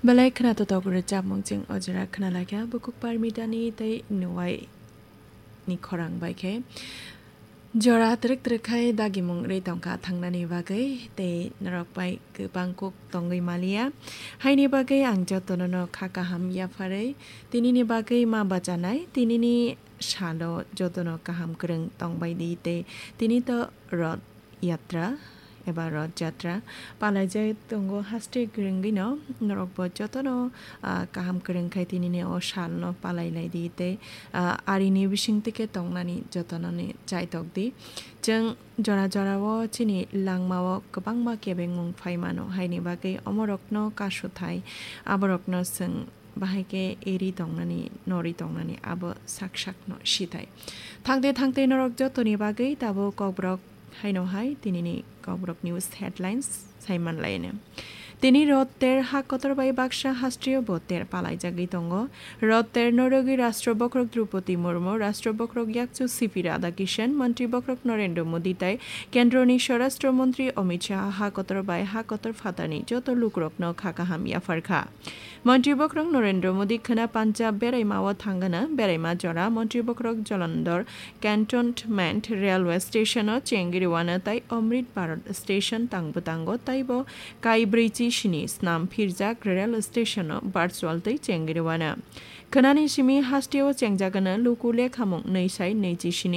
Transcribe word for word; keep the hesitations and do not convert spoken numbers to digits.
Belai khwnatok rwchapmung chwng o jora khwnalaikha, bukuk parmitani tei nuwai ni khorang bai khe. Jora twrwk twrwk khai dagimung rwi tongkha thangnani bagwi, tei norok bai kwbang kuk tongwi maliya. Haini bagwi ang jotono no kha kaham yapharwi, tinini bagwi ma bachanai, tinini salo jotono kaham kwrwng tongbai di tei tini to rod yatra eba Rath Jatra palaijak tongo haste kwrwngwino. Norokbo jotono, ah, kaham kwrwng khai tinini o salno palai lai di tei, ah, arini bisingtwi khe tongnani jotononi chaitok di. Chwng jora jorao chini langmao kwbangma kebengmung phai mano, haini bagwi omorokno kasuthai aborokno chwng bahai khe eri tongnani, nori tongnani abo sak sakno sithai. Thangte thangte norok jotoni bagwi tabuk Kokborok haino hai tinini Kokborok News headlines sai manlaino. Tini Rath Ter ha kotor bai baksa hastriyo bo ter palaijagwi tongo. Rath Ter no rwgwi Rashtra Bokhorok Droupadi Murmu, Rashtra Bokhorok Yakchu C P Radhakishan, Montri Bokhorok Narendra Modi tai Kendroni Swarashtra Montri Amit Shah ha kotor bai ha kotor phatarni joto lukurokno kha kaham yapharkha. Montri Bokhorok Narendra Modi khwna Punjab beraima o thangana, beraima jora Montri Bokhorok Jalandhar Cantonment Railway Station o chengri wana tai Amrit Bharat Station tangbo tango, taibo kai brwichi sini snam phirjak rail station o virtual tei chengri wana. Khwnani simi hasteo chengjagana luku lekhamung nwi sai nwichi sini